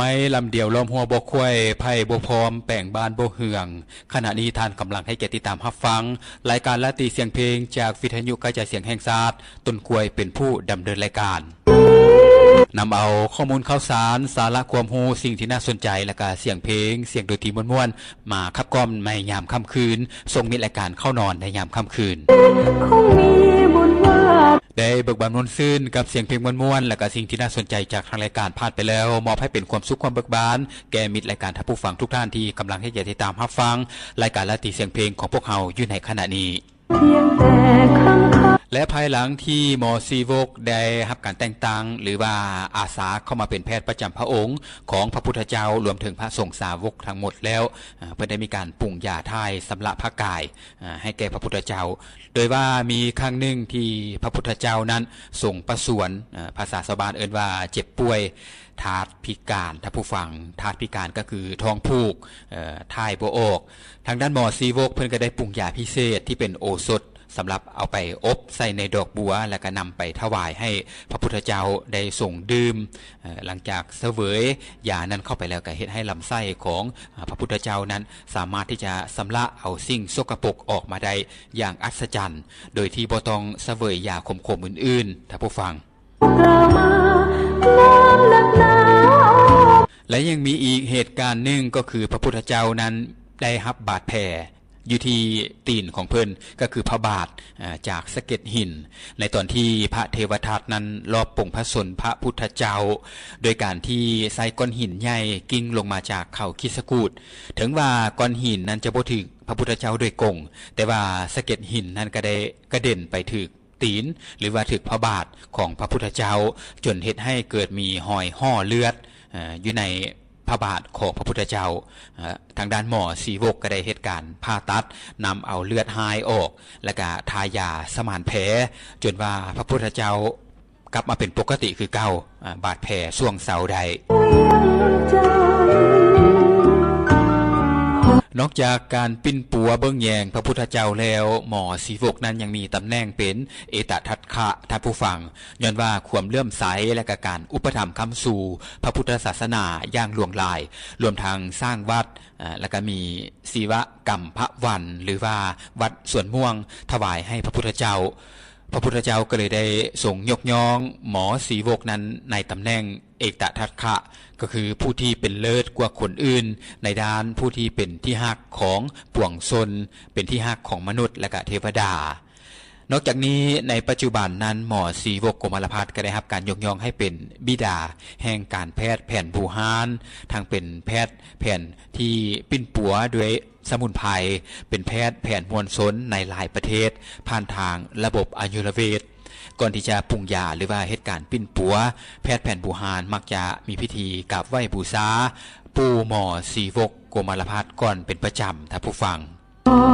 ໄມ້ລຳດຽວລ້ອມຫົວບໍ່ຂວາຍ ໄຜ່ບໍ່ພ້ອມແປງບ້ານບໍ່ເຮືອງ. ຂະນະນີ້ທ່ານກຳລັງໃຫ້ກຽດຕິດຕາມຮັບຟັງ ລາຍການລາຕີສຽງເພງ ຈາກວິທະຍຸກະຈາຍສຽງແຫ່ງຊາດ ຕົ້ນກ້ວຍເປັນຜູ້ດຳເນີນລາຍການ. ນຳເອົາຂໍ້ມູນຂ່າວສານ, ສາລະຄວາມຮູ້, ສິ່ງທີ່ໜ້າສົນໃຈ ແລະກະສຽງເພງ, ສຽງດົນຕີມ່ວນໆ ມາຂັບກ່ອມໃນຍາມຄ່ຳຄືນ, ສົ່ງມິດລາຍການເຂົ້ານອນໃນຍາມຄ່ຳຄືນ. ໄດ້ເບີກບານມ່ວນຊື່ນກັບສຽງເພງມ່ວນໆ ແລະກະສິ່ງທີ່ໜ້າສົນໃຈຈາກທາງລາຍການຜ່ານໄປແລ້ວ, ມອບໃຫ້ເປັນຄວາມສຸກຄວາມເບີກບານ ແກ່ມິດລາຍການທ່ານຜູ້ຟັງທຸກທ່ານທີ່ກຳລັງໃຫ້ກຽດຕິດຕາມຮັບຟັງລາຍການລາຕີສຽງເພງຂອງພວກເຮົາຢູ່ໃນຂະນະນີ້. ແລະພາຍຫຼັງທີ່ໝໍຊີວົກໄດ້ຮັບການແຕ່ງຕັ້ງ ຫຼືວ່າອາສາເຂົ້າມາເປັນແພດປະຈຳພະອົງຂອງພະພຸດທະເຈົ້າ ລວມເຖິງພະສົງສາວົກທັງໝົດແລ້ວ, ເພິ່ນໄດ້ມີການປຸງຢາຖ່າຍຊຳລະພະກາຍໃຫ້ແກ່ພະພຸດທະເຈົ້າ, ໂດຍວ່າມີຄັ້ງໜຶ່ງທີ່ພະພຸດທະເຈົ້ານັ້ນຊົງປະຊວນ, ພາສາຊາວບ້ານເອີ້ນວ່າເຈັບປ່ວຍ, ທາດພິການ, ທ່ານຜູ້ຟັງ, ທາດພິການກໍຄືທ້ອງຜູກ, ຖ່າຍບໍ່ອອກ. ທາງດ້ານໝໍຊີວົກເພິ່ນກໍໄດ້ປຸງຢາພິເສດທີ່ເປັນໂອສົດ ສຳລັບເອົາໄປອົບໃສ່ໃນດອກບົວ ແລ້ວກໍນຳໄປຖວາຍໃຫ້ພະພຸດທະເຈົ້າໄດ້ຊົງດື່ມ. ຫຼັງຈາກສະເຫວີຍຢານັ້ນເຂົ້າໄປແລ້ວ ກໍເຮັດໃຫ້ລຳໄສ້ຂອງພະພຸດທະເຈົ້ານັ້ນ ສາມາດທີ່ຈະຊຳລະເອົາສິ່ງສົກກະປົກອອກມາໄດ້ຢ່າງອັດສະຈັນ ໂດຍທີ່ບໍ່ຕ້ອງສະເຫວີຍຢາຂົມໆອື່ນໆ, ທ່ານຜູ້ຟັງ. ແລະຍັງມີອີກເຫດການໜຶ່ງ ກໍຄືພະພຸດທະເຈົ້ານັ້ນໄດ້ຮັບບາດແຜຢູ່ທີ່ຕີນຂອງເພິ່ນ ກໍຄືພະບາດ, ຈາກສະເກັດຫີນ ໃນຕອນທີ່ພະເທວະທັດນັ້ນລອບປົງພະຊົນພະພຸດທະເຈົ້າ ໂດຍການທີ່ໃຊ້ກ້ອນຫີນໃຫຍ່ກິ້ງລົງມາຈາກເຂົາຄິດສະກູດ. ເຖິງວ່າກ້ອນຫີນນັ້ນຈະບໍ່ຖືກພະພຸດທະເຈົ້າໂດຍກົງ, ແຕ່ວ່າສະເກັດຫີນນັ້ນກໍໄດ້ກະເດັນໄປຖືກ ຕີນ ຫຼືວ່າຖືກພະບາດຂອງພະພຸດທະເຈົ້າ ຈົນເຮັດໃຫ້ເກີດມີຮອຍຫໍ່ເລືອດຢູ່ໃນພະບາດຂອງພະພຸດທະເຈົ້າ. ທາງດ້ານໝໍຊີວົກກໍໄດ້ເຮັດການຜ່າຕັດນຳເອົາເລືອດຮ້າຍອອກ ແລ້ວກະທາຢາສະໝານແຜ ຈົນວ່າພະພຸດທະເຈົ້າກັບມາເປັນປົກກະຕິຄືເກົ່າ, ບາດແຜຊ່ວງເຊົາໄດ້. ນອກຈາກການປິ່ນປົວເບິ່ງແຍງພະພຸດທະເຈົ້າແລ້ວ, ໝໍຊີວົກນັ້ນຍັງມີຕຳແໜ່ງເປັນເອຕະທັດຂະ, ທ່ານຜູ້ຟັງ, ຍ້ອນວ່າຄວາມເຫຼື້ອມໃສ ແລະກະການອຸປະຖຳຄ້ຳຊູພະພຸດທະສາສະໜາຢ່າງຫຼວງຫຼາຍ, ລວມທັງສ້າງວັດ, ແລະກະມີສີວະກຳພະວັນ ຫຼືວ່າວັດສວນມ່ວງ ຖວາຍໃຫ້ພະພຸດທະເຈົ້າ. ພະພຸດທະເຈົ້າກໍເລີຍໄດ້ຊົງຍົກຍ້ອງໝໍຊີວົກນັ້ນໃນຕຳແໜ່ງເອຕະທັດຂະ, ກໍຄືຜູ້ທີ່ເປັນເລີດກວ່າຄົນອື່ນໃນດ້ານ, ຜູ້ທີ່ເປັນທີ່ຮັກຂອງປວງຊົນ, ເປັນທີ່ຮັກຂອງມະນຸດ ແລະກະເທວະດາ. ນອກຈາກນີ້, ໃນປັດຈຸບັນນັ້ນ ໝໍຊີວົກ ໂກມາລະພັດ ກໍໄດ້ຮັບການຍົກຍ້ອງໃຫ້ເປັນບິດາແຫ່ງການແພດແຜນບູຮານ, ທັງເປັນແພດແຜນທີ່ປິ່ນປົວດ້ວຍ ສະໝຸນໄພ, ເປັນແພດແຜນມວນຊົນໃນຫຼາຍປະເທດ ຜ່ານທາງລະບົບອາຍຸລະເວດ. ກ່ອນທີ່ຈະປຸງຢາ ຫຼືວ່າເຮັດການປິ່ນປົວ, ແພດແຜນບູຮານມັກຈະມີພິທີກາບໄຫວ້ບູຊາ ປູ່ໝໍຊີວົກ ໂກມາລະພັດ ກ່ອນເປັນປະຈຳ, ທ່ານຜູ້ຟັງ. ເ